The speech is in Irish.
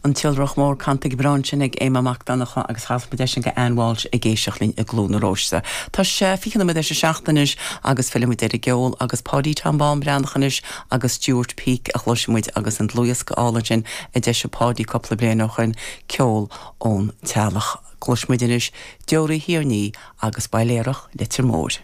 An tIolrach Mór canta go breá ansin ag Éamonn Mac Donncha agus chas muid eisean go Ann Walsh ag éisteacht linn i gCluain na Róiste. Tá sé 20 nóiméad théis a 7 anois agus fillfidh muid ar an gceol agus Páidí Tom Bán Breathnach anois agus Stuart Peake a chloisfidh muid agus an dlúthdhiosca álainn sin a d'eisigh Páidí cúpla bliain ó shoin, Ceol ón Teallach. Cloisfidh muid anois Deoraí Thiar Ní agus Bailéarach Leitir Móir.